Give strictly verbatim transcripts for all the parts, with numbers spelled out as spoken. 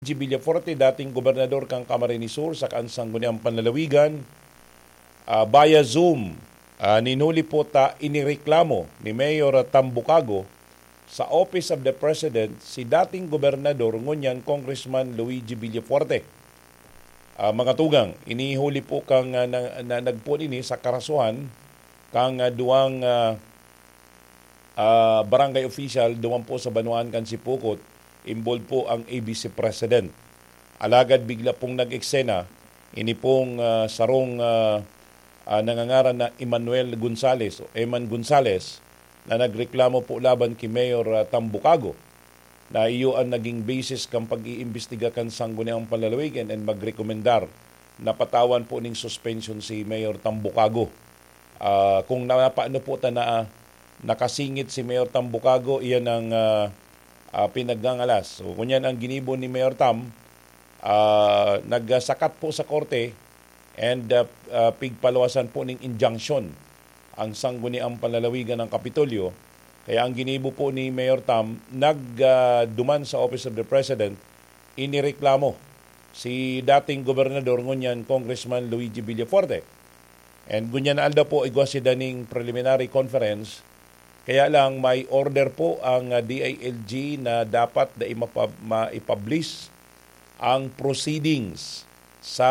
G Villafuerte, dating gobernador kan Camarines Sur, saka an Sangguniang Panlalawigan, ah, via Zoom. Ah, nin huli po ta inireklamo ni Mayor Tambukago sa Office of the President si dating gobernador ngunyan Congressman Luigi Villafuerte. Ah, mga tugang, ini huli po kan, ah, na, na, nagpoon ini sa karasuhan kan, ah, duwang, ah, ah, barangay official duman po sa banwaan kan Sipocot, involved po ang A B C President. Alagad bigla pong nag-eksena, ini pong, ah, sarong, ah, ah, nangangaran na Emmanuel Gonzales o Eman Gonzales na nagreklamo po laban ki Mayor, ah, Tambukago na iyo an naging basis kan pag-iimbestiga kan Sangguniang Panlalawigan and magrekomendar na patawan po ning suspension si Mayor Tambukago. Ah, kung napaano po ta na, ah, nakasingit si Mayor Tambukago, iyan ang, ah, ah, pinagngangalas. So, ngunyan ang ginibo ni Mayor Tam, ah, nagsakat po sa korte and, ah, ah, pigpaluwasan po ning injunction ang Sangguniang Panlalawigan ng Kapitolyo. Kaya ang ginibo po ni Mayor Tam, nag, ah, duman sa Office of the President, inireklamo si dating gobernador ngunyan Congressman Luigi Villafuerte. And ngunyan na aldaw po, igwa si daning preliminary conference. Kaya lang, may order po ang, ah, D I L G na dapat na imapab-, maipublish ang proceedings sa,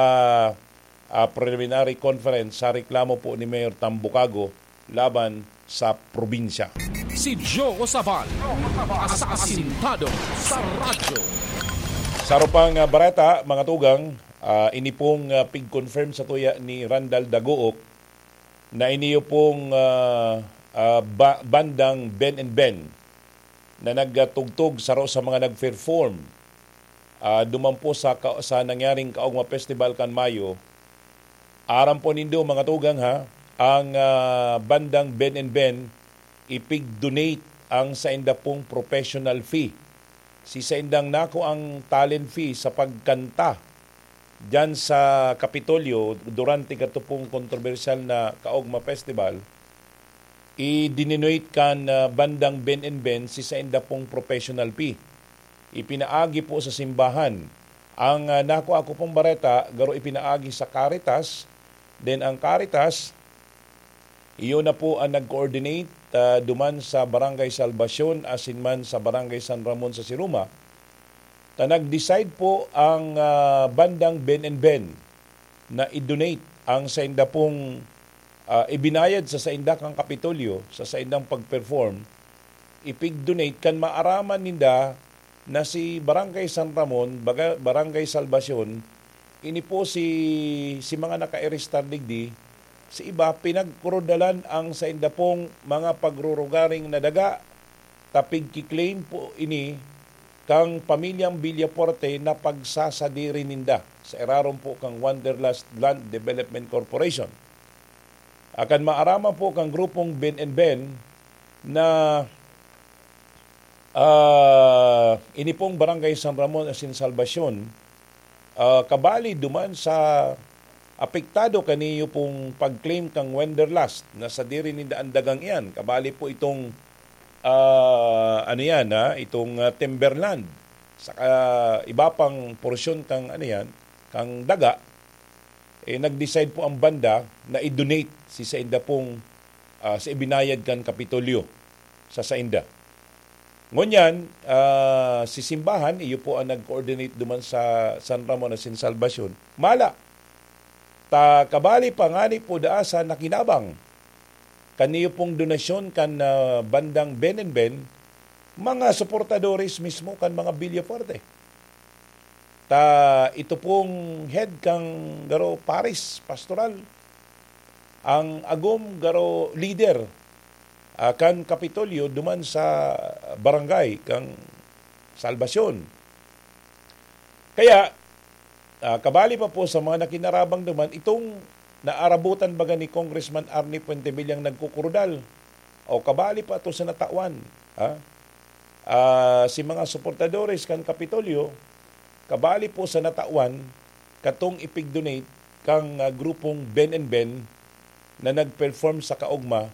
ah, preliminary conference sa reklamo po ni Mayor Tambukago laban sa probinsya. Si Joe Sabal, asasintado sa radyo. Sa arupang, ah, bareta, mga tugang, ah, ini pong, ah, pig-confirm sa tuya ni Randall Dagook na iniyo pong, ah, ah, ba-, bandang Ben and Ben na nagtugtog saro sa mga nag-perform, ah, duman po sa ka-, sa nangyaring Kaugma Festival kan Mayo. Aram po nindo, mga tugang, ha, ang, ah, bandang Ben and Ben, ipig-donate ang sainda pong professional fee. Si saindang nako ang talent fee sa pagkanta diyan sa Kapitolyo durante kato pong kontrobersyal na Kaugma Festival, i-denote kan, ah, bandang Ben and Ben si sainda pong professional fee. Ipinaagi po sa simbahan. Ang, ah, nakuha ko pong bareta, garo ipinaagi sa Caritas. Then ang Caritas, iyo na po ang nag-coordinate, ah, duman sa Barangay Salvacion, asin man sa Barangay San Ramon sa Siruma. Ta nag-decide po ang, ah, bandang Ben and Ben na i-donate ang sainda pong, ah, ibinayad sa sainda kan Kapitolyo, sa saindang pag-perform, ipig-donate kan maaraman ninda na si Barangay San Ramon, baga-, Barangay Salvacion, ini po si, si mga naka-arestar digdi, si iba, pinagkrudalan ang sainda pong mga pagrurugaring na daga, ta pigki-claim po ini kan pamilyang Villafuerte na pagsasadiri ninda sa irarom po kan Wanderlust Land Development Corporation. Akan maaraman po kan grupong Ben and Ben na, ah, ini pong Barangay San Ramon asin Salvacion, ah, kabali duman sa apektado kaniyo pong pag-claim kang Wanderlust na sadiri ninda an dagang iyan. Kabali po itong, ah, ano yan, ha? Itong, ah, timberland. Saka iba pang porsyon kang, ano yan, kang daga. Eh, nag-decide po ang banda na i-donate si sainda pong, ah, sa ibinayad kan Kapitolyo sa sainda. Ngunyan, ah, si simbahan, iyo po ang nag-coordinate duman sa San Ramon asin Salvacion. Mala, ta kabali pa ngani po daa sa nakinabang kaniyo pong donasyon kan, ah, bandang Ben and Ben, mga suportadores mismo kan mga Villafuerte. Ta ito pong head kan garo paris pastoral, ang agom garo leader, ah, kan Kapitolyo duman sa barangay kan Salvacion. Kaya, ah, kabali pa po sa mga nakinarabang duman, itong naarabutan baga ni Congressman Arnie Fuentebella ang nagkukurudal, o kabali pa to sa natawan, ha? Ah, si mga suportadores kan Kapitolyo, kabali po sa natawan, katong ipig-donate kang, ah, grupong Ben and Ben na nag-perform sa Kaugma,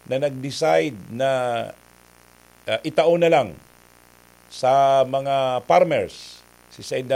na nag-decide na, ah, itao na lang sa mga farmers si saindang